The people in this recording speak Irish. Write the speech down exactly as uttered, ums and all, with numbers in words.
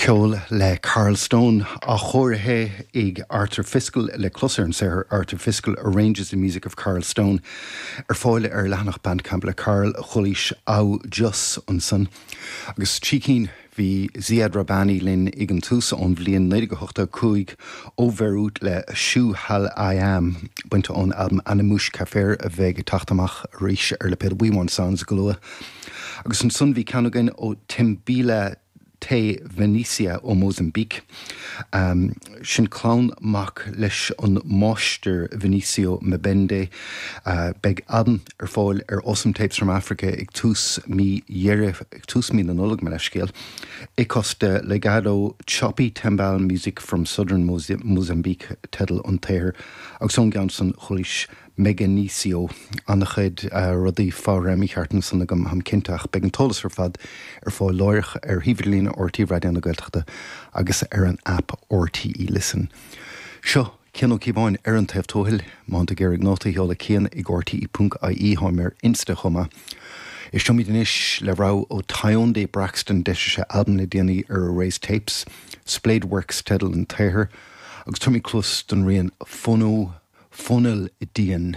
Ceol le Carl Stone á chóiriú ag Arthur Fiscal le clos ar an saothar Arthur Fiscal arranges the music of Carl Stone ar fáil ar leathanach Bandcamp le Carl chualaís Au Jus ansan. Agus trí cinn bhí Ziad Rahbani linn ag an tús ón bhliain naoi déag ochtó cúig ó Bheiriút le Shu Hal I Am bainte ón albam Ana Moush Kafer a bheidh ag teacht amach arís ar lipéad We Want Sounds go luath. Agus ansan bhí ceann againn ó Timbila Té Venetia ó Mozambique. Um, sin clann mac leis an máistir Venancio Mbende uh, beidh albam ar fáil ar Awesome Tapes from Africa ag tús mí Dheireadh ag tús mí na Nollag me leithscéal. Icos de Legado Choppy Timbal Music from Southern Mozambique teideal an tsaothair agus ón gceann san chualaís Meganicio an-chuid uh, rudaí fá mícheart ansan agam táim cinnte ach beidh an t-eolas ar fad ar fáil láithreach ar shuíomh idirlín RTÉ Raidió na Gaeltachta agus ar an app RTÉ Listen. Seo Cian Ó Cíobháin ar an taobh tuathail má ag iarraidh nóta a sheoladh Cian ag RTÉ ponc IE táim ar Insta chomh maith. Éisteoimid anois le rogha ó Tyondé Braxton d'eisigh sé albam le déanaí ar Erased Tapes, Splayed Works teideal an tsaothair, agus tabharfaimid cluas don rian Fono Fonil Dian.